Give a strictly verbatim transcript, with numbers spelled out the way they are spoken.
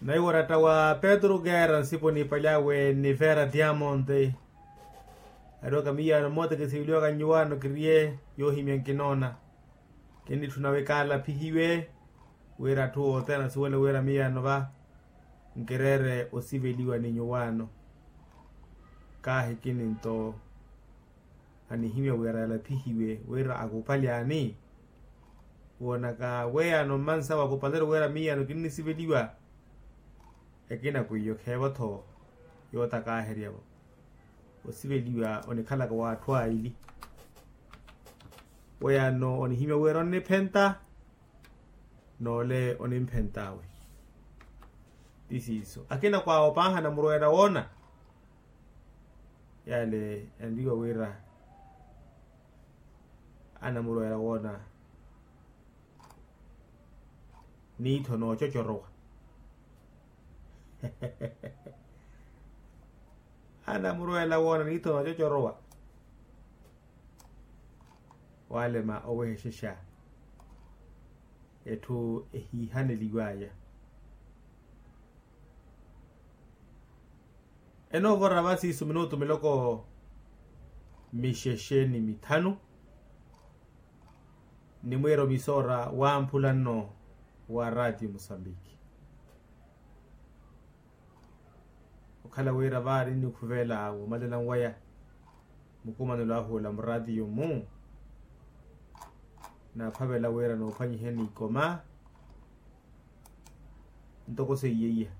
Naiwo oratta wa petru keera nsipo nipalyawe ni vera diamond. Ariwaka miyaano mmoota kisiveliwaka nnyuwaano kiriye yoohimya nkinoona. Kinnitthuna wi kaalaphihiwe wira atthu othene asuwele wira miyaano va nkireere osiveliwa ni nyuwaano. Kaahi kininto anihimya wira yalaphihiwe wira akupalyani. Woonaka weyaano mmansawe akupaleri wira miyaano kinnisiveliwa. Ekina kwiyo kheevo-tho yootakaaherya-vo. Osiveliwa onikhalaka w'atthu aili. Weyaano onihimya wira onniphenta n'ole onimphent'awe. Ti siiso akina kwaawo paahana murweera woona. Yale yanriwa wira anamurweera woona niitho noococorowa. Anamurweela woona niitho noococorowa. Waalema owehexexa etthu ehiihaneliw'aya. Enoovora va siiso minutu miloko mixexe ni mithanu. Ni mwiira omisoora wamphula nno wa ratio musambiki. Okhala wira vaari nnikhuveela woomalela nwaya mukumanelo ahu ola muratio-mu. Naaphavela wira noophwanyiheni ikoma ntoko seiyeiya.